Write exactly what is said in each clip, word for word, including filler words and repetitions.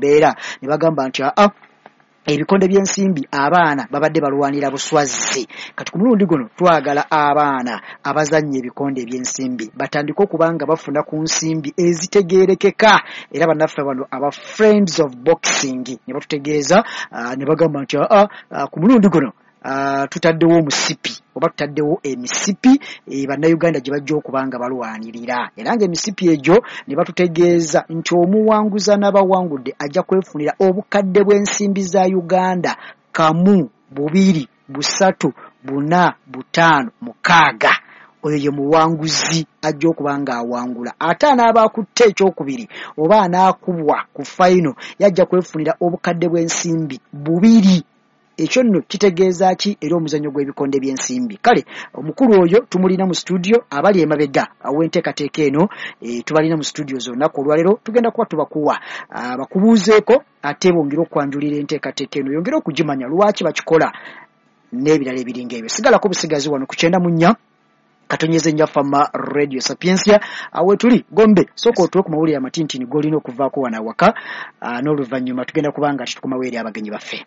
embeera ne bagamba nti aa, ebikonde by'ensimbi abaana babadde balwanira buswazi. Kati ku mulundi guno twagala abaana abazannya ebikonde eby'ensimbi batandike okuba nga bafuna ku nsimbi ezitegeerekeka. Era bannaffe bano aba Friends of Boxing ne batutegeeza, uh, ne bagamba nti aa, uh, ku mulundi guno Uh, tutaddewo omusipi oba tutaddewo emisipi e, bannayuganda gye bajja okuba nga balwanirira. Era ng'emisipi egyo ne batutegeeza nti omuwanguza n'abawangudde ajja kwefunira obukadde bw'ensimbi za Uganda kamu, bubiri, busatu, buna, butaano, mukaaga. Oyo ye muwanguzi ajja okuba ng'awangula. Ate anaaba akutte ekyokubiri oba anaakubwa ku fayino yajja kwefunira obukadde bw'ensimbi bubiri. Ekyo nno kitegeeza ki eri omuzannyo gw'ebikonde by'ensimbi? Kale omukulu oyo tumulina mu studio, abali emabega aw'enteekateeka eno e, tubalina mu studio z'olunaku olwaleero. Tugenda kuba tubakuwa bakubuuzeeko ate bongere okwanjulira enteekateeka eno, yongere okugimanya lwaki bakikola n'ebirala ebiringa ebyo. Sigalako busigazi wano ku kyenda mu nnya katonyeze nnya Fama Radio Sapientia awe tuli Gombe. Sooka otuwe ku mawulire amatintini g'olina okuvaako wano awaka, n'oluvannyuma tugenda kubanga tukomawo eri abagenyi baffe.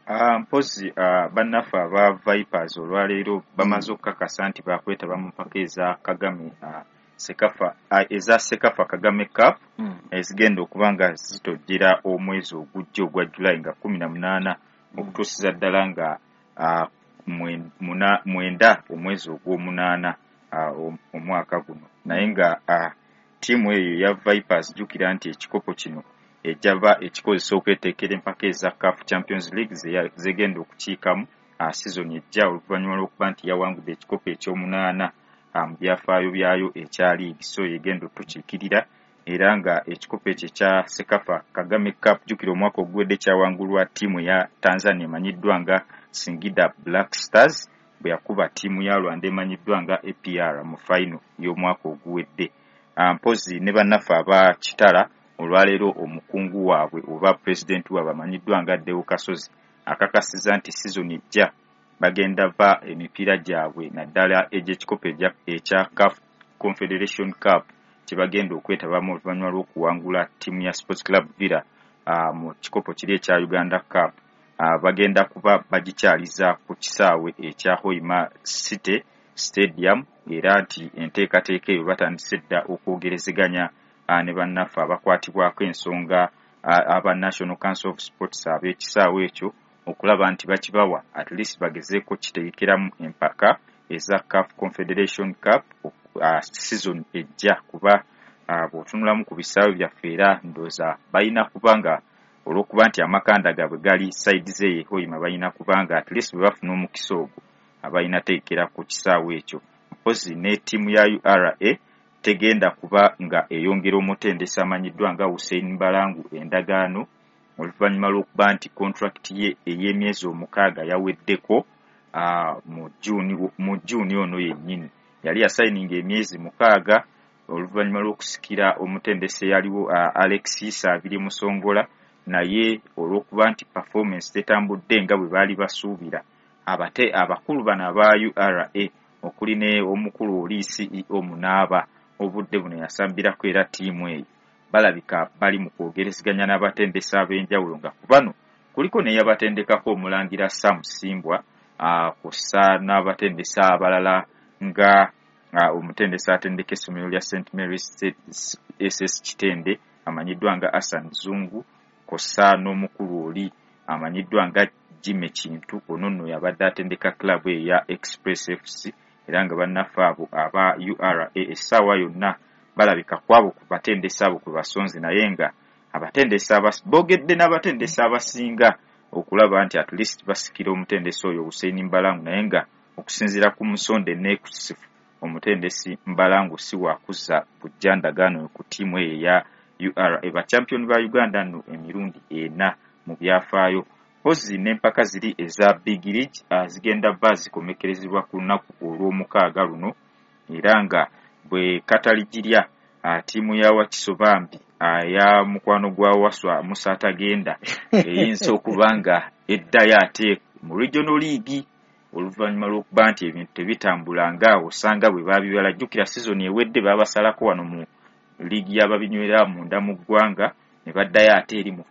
Uh, mpozi uh, bannaffe aba Vipers olwaleero bamaze okukakasa nti bakwetaba mu mpaka eza Kagame uh, Sekafa uh, eza Sekafa Kagame Cup mm. ezigenda okuba nga zitojjera omwezi ogujja ogwa July nga kumi na munaana mm. okutuusiza ddala nga uh, mwenda omwezi ogw'omunaana uh, omwaka guno. Naye nga uh, ttiimu eyo ya Vipers, jjukira nti ekikopo kino ejjava ekikozesa okweteekera empaka eza CAF Champions League zegenda okukiikamu uh, season ejja, oluvannyuma lw'okuba nti yawangudde ekikopo ekyomunaana mu byafaayo byayo ekya league. So yegenda otukiikirira, era nga ekikopo ekyo ekya Sekafa Kagame Cup, jjukira omwaka oguwedde kyawangulwa ttiimu ya Tanzania emanyiddwa nga Singida Black Stars bwe yakuba ttiimu ya Rwanda emanyiddwa nga A P R mu final y'omwaka oguwedde. Mpozi ne bannaffe aba Kitara olwaleero omukungu waabwe oba pulezidenti waabwe amanyiddwa nga Deo Kasozi akakasiza nti season ejja bagenda va emipiira gyabwe naddala egy'ekikopo ekya CAF Confederation Cup kye bagenda okwetabamu oluvannyuma lw'okuwangula ttiimu ya Sports Club Villa uh, mu kikopo kiri ekya Uganda Cup. Uh, bagenda kuba bagikyaliza ku kisaawe ekya Hoima City Stadium, era nti enteekateeka eyo batandise dda okwogerezeganya uh, ne bannaffe abakwatibwako ensonga uh, aba National Council of Sports ab'ekisaawe ekyo okulaba nti bakibawa at least bagezeeko kitegekeramu empaka eza CAF Confederation Cup uh, season ejja. Kuba uh, bw'otunulamu ku bisaawe byaffe era ndowooza balina kubanga olw'okuba nti amakanda gaabwe gali side z'eyo Hoima, balina kubanga at least bwe bafuna omukisa ogwo abalina teekera ku kisaawe ekyo. Mpozi ne ttiimu ya U R A tegenda kuba nga eyongera omutendesi amanyiddwa nga Hussein Mbalangu endagaano oluvannyuma lw'okuba nti contract ye ey'emyezi omukaaga yaweddeko uh, mu June, mu June ono yennyini. Yali yasayininga emyezi mukaaga oluvannyuma lw'okusikira omutendesi eyaliwo uh, Alexis Abiri Musongola, naye olw'okuba nti performance tetambudde nga bwe baali basuubira, abate abakulu bano aba U R A okuli ne omukulu oli C E O Munaaba obudde buno yasambirako era ttiimu eyo balabika bali mu kwogerezeganya n'abatendesi ab'enjawulo, nga ku bano kuliko n'eyabatendekako omulangira Sam Simbwa uh, kw'ossa n'abatendesi abalala nga uh, omutendesi atendeka essomero lya Saint Mary's S S Kitende amanyiddwa nga Hassan Zungu, kw'ossa n'omukulu oli amanyiddwa nga Jimmy Kintu, ono nno yabadde atendeka club eyo ya Express F C. Era nga bannaffe abo aba U R A essaawa yonna balabika kwabo ku batendesi abo kwe basonze, naye nga abatendesi boogedde n'abatendesi abasinga okulaba nti at least basikira omutendesi oyo Hussein Mbalangu, naye nga okusinziira ku musonde neekusifu omutendesi Mbalangu si wakuzza bujja ndagaano ku ttiimu eyo eya U R A. Ba champion ba Uganda nno emirundi ena mu byafaayo. Mpozi n'empaka ziri eza Big League uh, zigenda ba zikomekerezebwa ku lunaku olw'omukaaga luno, era nga bwe kataligirya uh, ttiimu ya Wakiso bambi uh, ya mukwano gwa Waswa Musa Atagenda eyinza okuba nga eddayo ate mu Regional League oluvannyuma lw'okuba nti ebintu tebitambula nga osanga bwe baabibala. Jjukira season ewedde baabasalako wano mu liigi y'ababinywera munda mu ggwanga ne baddayo ate eri mu